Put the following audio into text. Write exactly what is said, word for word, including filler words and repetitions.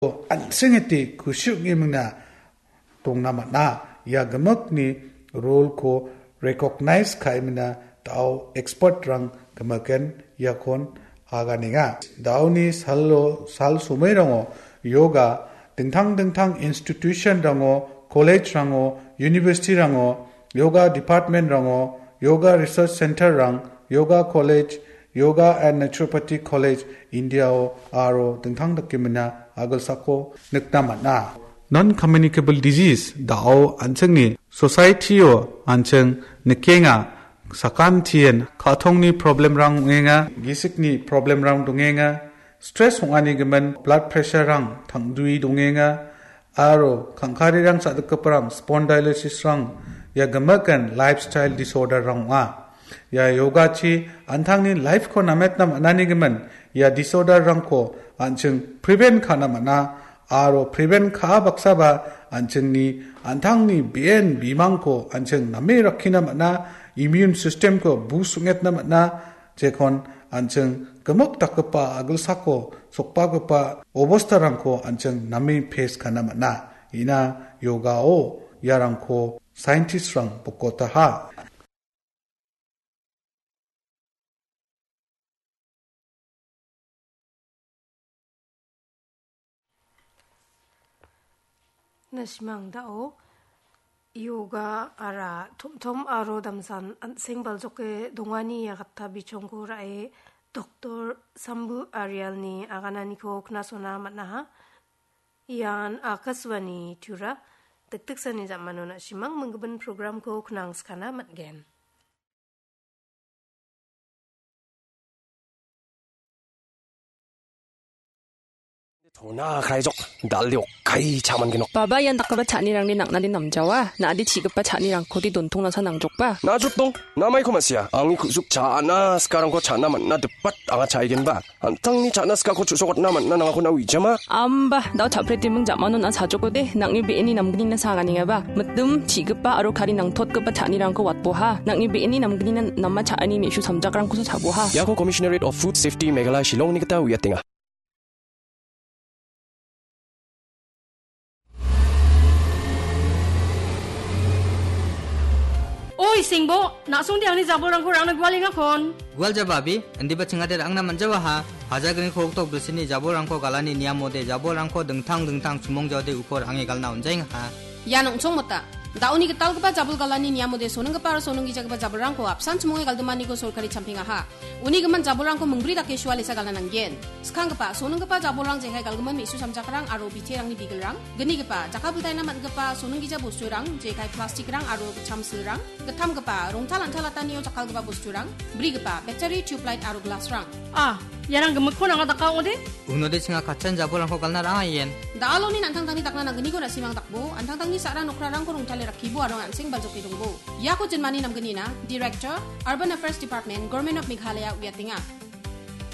an·sengete kusi ong·emingna dongna man·a. Ia gimikni role-ko recognize ka·emina da·o expert-rang gimiken iakon aganenga. Da·oni salo, sal somairango yoga dingtang dingtang institution-rango, college-rango, university-rango, yoga department-rango, yoga research center-rang, yoga college, Yoga and Naturopathy College India-o aro dingtang dakemina agilsako nikna man·a. Non-communicable disease da·o an·chingni society-o an·ching nikenga, sakantien ka·tongni problem-rang ong·enga, gisikni problem-rang dongenga, stress ong·ani gimin blood pressure-rang tangdue dongenga, aro kangkarirang cha·dikgiparang spondylosis-rang ia gimikan lifestyle disorder-rang ong·a. Ia yogachi an·tangni life-ko nametna man·ani gimin ia disorder-rangko an·ching prevent ka·na man·a, aro prevent ka·a baksaba an·chingni an·tangni be·en bimangko an·ching name rakkina man·a, immune system-ko boost ong·etna man·a, jekon an·ching gimik dakgipa agilsako sokbagipa obostarangko an·ching name face ka·na man·a. Ina yogao iarangko scientist-rang bokotaha. Na·simang da·o yoga ara tom·tom aro damsan an·seng baljoke dongani ia gatta bichongko ra·e Doktor Sambu Arialni agananiko knasona man·aha. Ian Akashvani Tura, dikdiksani jamano na·simang minggimin programko knangskana man·gen. Tona kaijok, dal·o kai cha·man genok. Baba, ian dakgipa cha·anirangni nang·nade namjawa. Na·ade chi·gipa cha·nirangkode dontong nasa nangjokba. Na·jotdong, namaiko ma·sia. Angni ku·suk cha·na sikarangko cha·na man·na dipat anga cha·aigenba. An·tangni cha·na sikako chu·sokatna man·na nangako na uijama. Amba, da·o cha·pretiming jamano na·a sajokode, nang·ni be·eni namgnina saganengaba. Mitim, chi·gipa aro kari nangtotgipa cha·anirangko watboha. Nang·ni be·eni namgnina nama cha·ani me·su samjakrangkosa chaboha. Iako Commissionerate of Food Safety Meghalaya Shillongni gita uiatenga. Oi, Sengbo, na·songde angni jabolrangko rangna gualengakon. Gual jaba, abi, indiba chingade rangna manjawaha. Hajagriko oktok brisini jabolrangko galani niamode jabolrangko dingtang dingtang chumong jaode uko range galna onjaengaha. Ian ong·chongmota. Da·oni gitalgipa jabol galani niamode sonenggipa aro sonenggijagipa jabolrangko apsan chimonge galdimaniko sorkari champengaha. Uni gimin jabolrangko mingbri dake sualesa galna nanggen. Skanggipa, sonenggipa jabolrang jekai galgimin me·su samjakrang aro biterangni bigelrang, gnigipa, jakkalbiltaina man·gipa sonenggija bosturang, jekai plastikrang aro gitcham silrang, gittamgipa, rongtal an·talatanio jakkalgipa bosturang, brigipa, battery, tubelight aro glassrang. Ah, iarang gimikko nanga daka ong·ode? Unode chinga katchan jabolrangko galna rang·a ien. Da·aloni an·tangtangni dakna nanggniko na·simang dakbo, an·tangtangni sa·ra nokrarangko rongtale rakkibo aro an·seng baljoke dongbo. Iako jinmani namgnina, Director, Urban Affairs Department, Government of Meghalaya uiatenga.